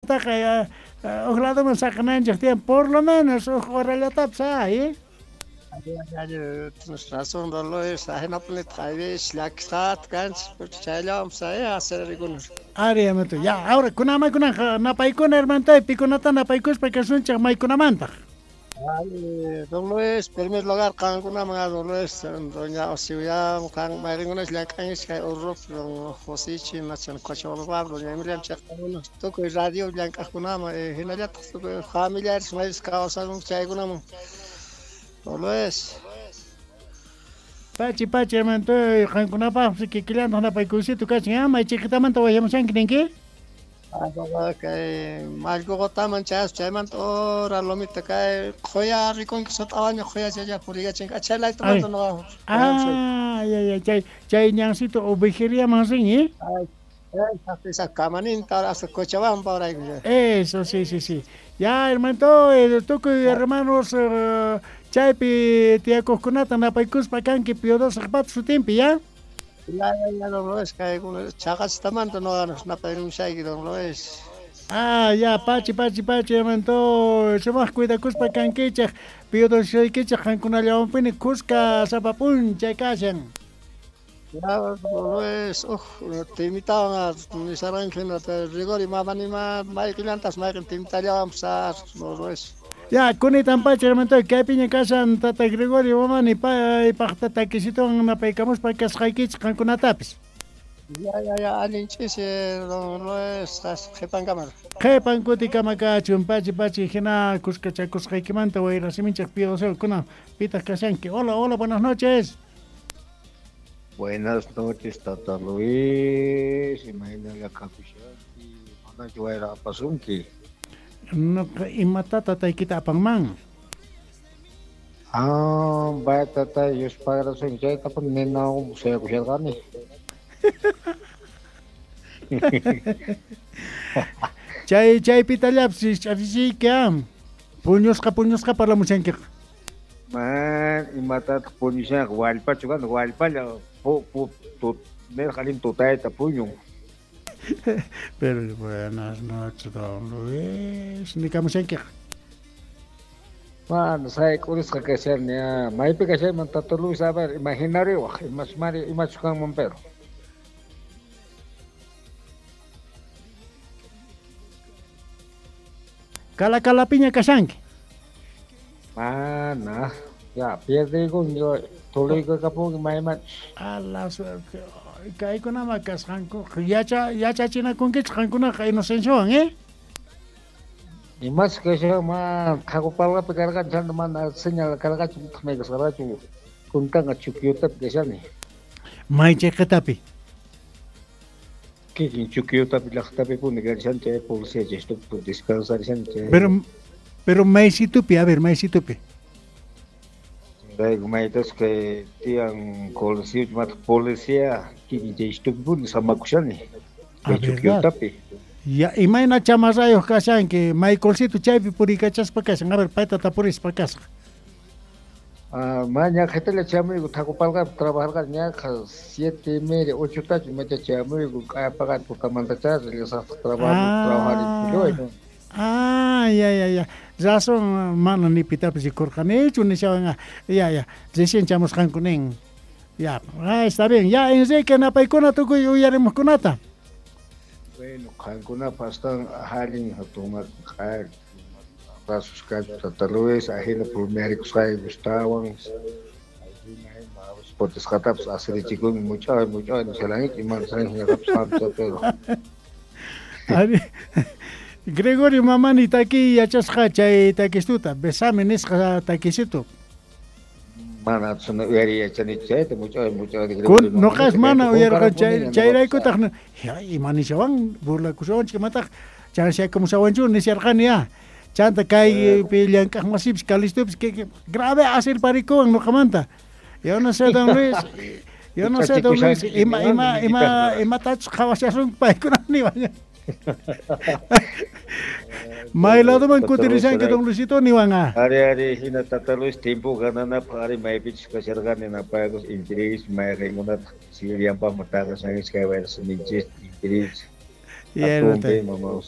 Taqa huk ladoman saqinanchik tiyan, por lo menos huk horallatapis ay. Tienes razón, don Luis, ajinapunitaq ayvis llakisqata kanchik, porque chayllawanpas ay asirarikuna. Ari, hermanito. Ya, ahora kunamakunaq napaykuna, hermanito, pikunata napaykuspa kasunchik maykunamantaq. Ay, don Luis, primer lugar qankunaman, don Luis, doña Osiuyam, qan mayqinkunash llank'ankichik kay Urrup, don Josichi, machan Cochabamba, doña Emilia chayqakuna, tukuy radio llank'aqkunaman, hinallataq tukuy familiares maypis kawsakunku chaykunaman. Don Luis. Pachi, pachi, hermanito, qankunapaqpis kikillantaq napaykuysito kachin, ah, may chiqitamanta wayamushanki ninki? Kay Mallqoqotaman chayaspa chaymanta ura lomita kay qhuya rikunki sut'awaña qhuya chaylla puriykachinki achhalaytumanta nuqa. Ah, ya, ya, chay chay ñancito ovejeriaman rin, ¿eh? Ay, kamaninta hasta Cochabamba urayku. Eso, sí, sí, sí. Ya, hermanito, tukuy hermanos chaypi tiyakuqkunata napaykuspa kanki Piodosaqpata sutinpi, ya? Ya, ya, ya, don Luis, kaykuna chaqachistamanta nuqa napayrimushayki, don Luis. Ah, ya, pachi, pachi, pachi, hermanito, sumaq cuidakuspa kankichik, Piodosaykichik qankunallawanpini kuska sapa p'unchay kashan. Ya, don Luis, uj timitawan nisharanki hinata Rigori mamanima mayqillantas mayqin timitallawanpas don Luis. Ya, kunitan pacha, hermanito, kaypiña kashan tata Gregorio Mamani paypaqta takisituwan napaykamuspa kasqaykichik qankunatapis. Ya, ya, ya, allin ch'isi, don Luis, qhipankama. Qhipan kutikama kachun, pachi, pachi, hina kuskachakusqaykimanta wayrasiminchik Piodosio, pitaq kashanki. Hola, hola, buenas noches. Buenas noches, tata Luis, imaynalla kakushanki, manachu wayra apasunki? Nuqa imata tataykita apanman? Ah, vaya tata, Dios pagrasun chayta pun ninawan suyakusharqani. Chay chaypitallapis ch'afichiyki, ah. Puñusqa puñusqa parlamushankiqa. Man, imatataq puñushanqa wallpachu kan, wallpalla pu pu tut nirqa allin tutayta puñun. Pero buenas noches, don Luis. Nikamushankiqa. Mana sayk'urisqa kashani, ah, maypi kashayman tata Luis, a ver, imaginariwaq, imachmari imachu kanman pero. Kala kalapiña kashanki. Mana, ya, pierdigun yo tuluykukapunki mayman. A la suerte. Kaykunama kasqanku yacha yachachinakunkichik qankunaqa Inocenciowan, ¿eh? Imas kashan man Qhaqupalqapi karqani chanta mana señal karqachu nitaq may kasqarqachu kuntanqa Chuquiotapi kashani. May chiqitapi. Kikin Chuquiotapi llaqtapipuni karishani chay policía chaystupi descansarishani chay. Pero maysitupi, a ver, maysitupi. Chayrayku maytas kay tiyan coliseo mataq policía kikin chaystupipuni samakushani. Ah, Kay Chuquiotapi. Ya, imayna chamarrayuq kashanki, Michaelcito chaypi puriykachaspa kashan, a ver, payta tapurispa kasqa. Ah, ma ñaqhitalla chamuyku Thaqupalqapi trabajarqani ñaqa 7:30 8tachu imacha chamuyku k'ayapaqani tutamantachá rillasaqtaq trabajo trabajar. Ah, ya, ya, ya. Razón, mana ni pitapis rikurqanichu nishawan, ya, ya. Recién chamusqanku nin. Ya, ah, está bien. Ya, Enrique, napaykuna tukuy uyarimuqkunata. Bueno, qankunapaq astawan allin hatun q'ari abrazos kachu tata Luis, ajina pulmiarikusqayki gustawan. Ajina ima potisqatapas asirichikunki much'ay much'ay nishalanki ima nishalanki qamcha pero. Ari, Gregorio Mamani taki yachasqa chay takistuta, besame nisqa takisitu. Mana suna uyariy yachanichu chayta much'ay much'ay Kun nuqas mana uyarqa chay chayraykutaq ya ima nishawan burlakushawanchik imataq chanshaykumusawanchu nisharqani ya. Chanta kaypi llank'aq masipis Calistopis que grave asirparikuwan nuqamanta. Yo no sé, don Luis, yo no sé, don Luis, ima ima ima imatachus qhawashasunki paykuna niwan. May ladoman kutirishanki don Luisito niwan ah. Ari ari hina tata Luis tiempo gananapaq ari maypichus kasharqani napaykus intiris mayqinkunataq sirianpaqman taqashankichik kay wayra siminchis intiris. Ya, Atunpi mama